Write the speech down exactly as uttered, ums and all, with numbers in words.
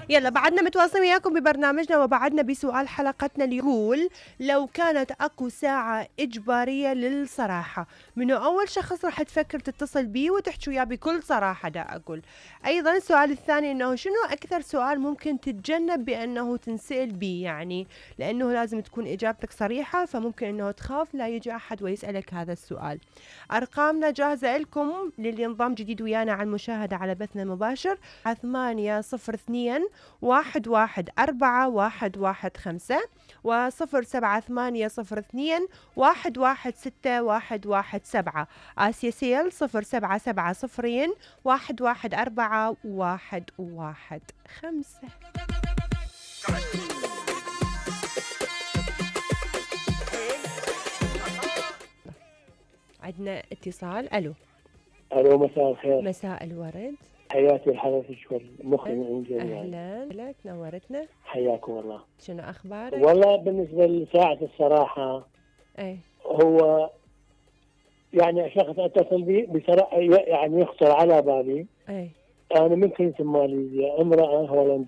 يلا بعدنا متواصلين وياكم ببرنامجنا، وبعدنا بسؤال حلقتنا اللي يقول لو كانت اكو ساعة اجبارية للصراحة، منو اول شخص راح تفكر تتصل بيه وتحكي وياه بكل صراحة؟ دا اقول ايضا السؤال الثاني انه شنو اكثر سؤال ممكن تتجنب بانه تنسأل بيه، يعني لانه لازم تكون اجابتك صريحة، فممكن انه تخاف لا يجي احد ويسألك هذا السؤال. ارقامنا جاهزة لكم للي انضم جديد ويانا على المشاهدة على بثنا المباشر، ثمانية صفر اثنين واحد واحد أربعة واحد واحد خمسة وصفر سبعة ثمانية صفر اثنين واحد واحد ستة واحد واحد سبعة. آسيا سيل صفر سبعة سبعة صفرين واحد واحد أربعة واحد واحد خمسة. عندنا اتصال. الو. الو مساء الخير. مساء الورد. حياتي لحضرتك والمخرج من جميعا. اهلا لك، نورتنا. حياكم الله. شنو اخبارك؟ والله بالنسبه لساعه الصراحه اي هو يعني شخص اتصل بي بصراحه يعني يخطر على بالي. اي انا من كنت ماليزيا، امراه هولنديه